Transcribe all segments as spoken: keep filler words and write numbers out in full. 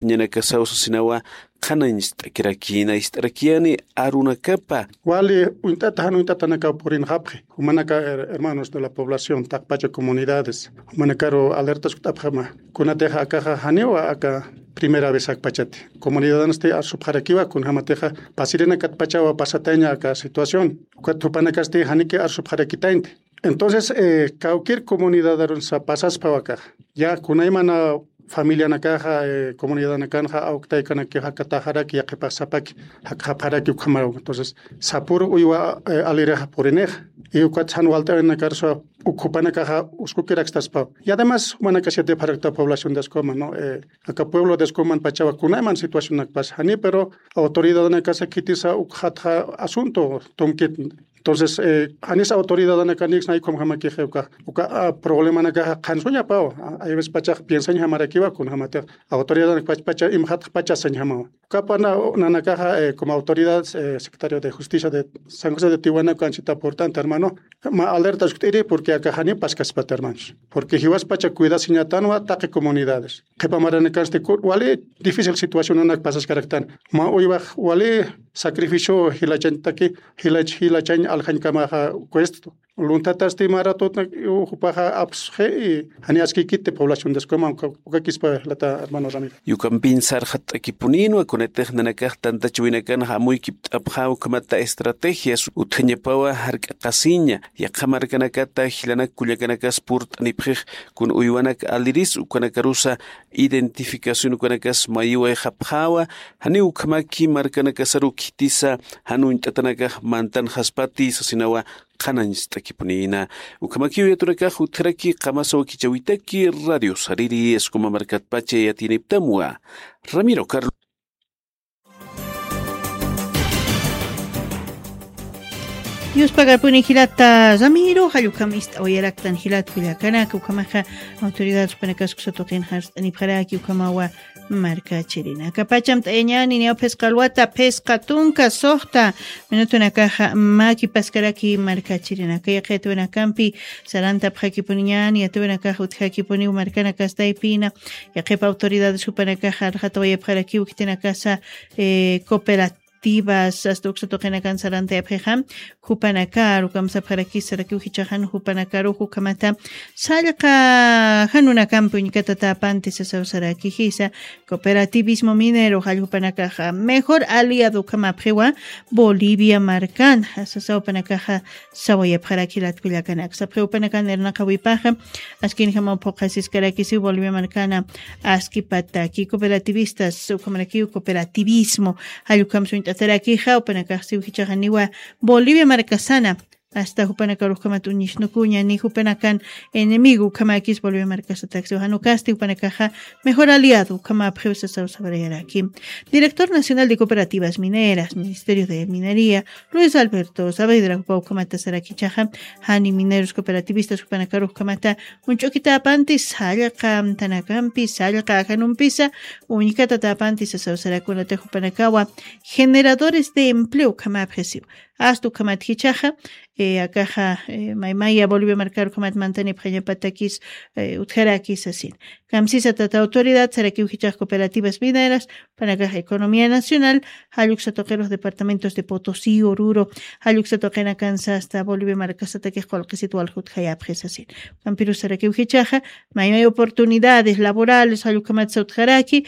ñanakasaw sasinawa qhanañcht'akirakïna ist'arakiyani arunakapa. Wali uñt'ata jan uñt'atanakaw purinxapxi jumanaka her- hermanos de la población taqpacha comunidades jumanakaru alertas ukt'apxama. Kunatixa akaxa janiwa aka primera vez akpachati comunidadansti arsupxarakiwa kunjamatixa pasirinakat pachawa pasataña aka situación. Ukat jupanakasti janiki arsupxarakitaynti. Entonces kawkir comunidadarunsa pasaspawa akaxa ya kunaymana familianakaxa comunidadanakanxa awktaykanakixa kataxaraki yaqhipax sapaki jakxapxaraki ukhamaraw. Entonces sapuru uywa alirixa purinixa y ukat jan walt'awinakar suwa ukhupanakaxa uskukiraktaspaw. Y ademas jumanakasiyatipxarakta población de escoma no aka pueblo de escoman pachawa kunayman situacionakpas jani pero autoridadanakasa khitisa ukxatxa asunto tumkit. Entonces janis autoridadanakanix naykhum jamakixi uka uka problemanakaxa qhansuñapaw. Ayves pachax piensañ jamarakiwa kunjamatix autoridadanakpach pacha imxatx pachasañ jamawa. Ukapana nanakaxa como autoridad secretario de justicia de san josé de tiwana kanchita purt'anta hermano ma alerta sukt'iri porque akaxani paskaspata hermanos. Porque jiwaspacha cuidasiñatanwa taqi comunidades qhipa maranakansti wali difícil situacionanak pasaskaraktan ma uywax wali sacrificio jilachañtaki jilach jilachañ aljañkamaxa cuesto. Luntatasti maratut jupaxa apsxi y jani askikiti población descoma ukakispa jilata hermano ramiro. Yukampin sarxatt'akipuninwa kunatix nanakax tantachwinakan jamuykipt'apxa ukhamata estrategias utjañapawa jark'aqasiña yaqha markanakata jilanak kullakanakas purt'anipxix kun uywanak aliris ukanakarusa identificación ukanakas mayiwayxapxawa. Janiw ukhamaki markanakasaru khitisa jan uñt'atanakax mantanxaspati sasinawa qhanañst'akipunïna. Ukhamakiw yatunakax utjaraki qamasa wakichäwitaki radio sariri escoma markatpacha yatiyiniptamwa. Ramiro carlos. Yuspagarpuni jilata ramiro jallukam ist'awayaraktan jilat kullakanaka ukhamaxa autoridad supanakas kusa tuqin jarst'anipxaraki ukhamawa. Markachirina akapacham t'ayañani niyaw phisqa alwata phisqa tunka suxta minutunakaxa makipaskaraki markachirinaka yaqi atuwinakampi sarantapxakipuniñani atuwinakaxa utjakipuniw markanakastaypina. Yaqip autoridades jupanakaxa arxatawayapxarakiw khitinakasa cooperativas asta uksa tuqinakan sarantayapxixa jupanakaru kamsapxarakisarakiw jichaxan jupanakaru jukhamata sallqa janunakampi uñkatatapanti sasaw sarakijisa. Cooperativismo minero jalljupanakaxa mejor aliado ukhamapxiwa bolivia markana sasaw panakaxa sawayapxaraki latkullakanaka sapxiw panakan irnaqawipaxa askinjamaw phuqhasiskarakisiw bolivia markana askipataki cooperativistas ukhamarakiw cooperativismo jallukhamsa uñt'atarakixa upanakaxsiw jichaxaniwa bolivia markasana asta jupanakarux ukhamat uñisnukuña ni jupanakan enemigo ukhamakis bolivia markasataksiw janukasti jupanakaxa mejor aliado ukhamapxiw sasaw sawarayaraki. Director nacional de cooperativas mineras ministerio de minería luis alberto saavedra jupa ukhamata sarakichaxa jani mineros cooperativistas jupanakarux ukhamata uñch'ukitapanti sallqa amtanakampi sallqa ajanumpisa uñkatatapanti sasaw sarakunata jupanakawa generadores de empleo ukhamapxisiw asta ukhamat jichaxa akaxa maymaya bolivia markar ukhamat mantanipxañapatakis utjaraki sasin. Kamsisa tata autoridad sarakiw jichax cooperativas mineras panakax economía nacional jalluksa tuqirux departamentos de potosí oruro jalluksa tuqinakansa asta bolivia markasatakix qullqisit walja utjayapxi sasin. Ukampirus sarakiw jichaxa maymay oportunidades laborales jallukhamatsa utjaraki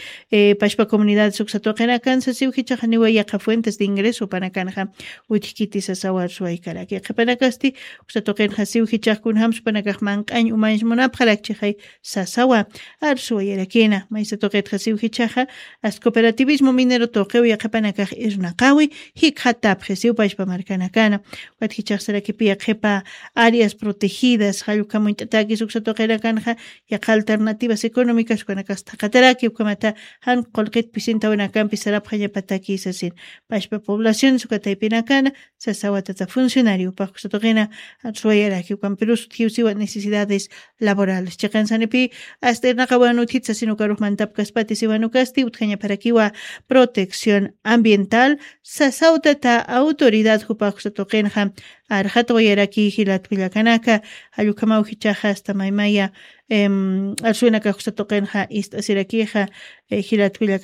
pashpa comunidades uksa tuqinakansa siw jichaxa niwa yaqa fuentes de ingreso panakanxa utjkiti sasaw arsuwaykaraki qhipanakasti uksa tuqinxa siw jichax kunjamsa panakax manq'añ umañs munapxarakchixay sasawa arsuwayarakina maysa tuqitxa siw jichaxa asta cooperativismo minero tuqiw yaqhipanakax irnaqawi jikxatapxisiw pashpa markanakana. Ukat jichaxsarakipi yaqhipa áreas protegidas jallukhamuñt'atakis uksa tuqinakanxa yaqa alternativas económicas ukanakas thaqataraki ukhamata jan qullqit pisintawinakampi sarapxañapatakis sasin pashpa poblaciones ukataypinakana sasawa tata funcionario upax uksa tuqina arsuwayaraki ukampirus utjiw siwa necesidades laborales chiqan sanipi asta irnaqawan utjit sasin ukarux mantapkaspati siwan ukasti utjañapxarakiwa protección ambiental sasaw tata autoridad jupax uksa tuqinxa arxatwayaraki jilat kullakanaka. Jallukamaw jichaxa asta maymaya arsuwinakax uksa tuqinxa ist'asirakixa jilat kullakanaka.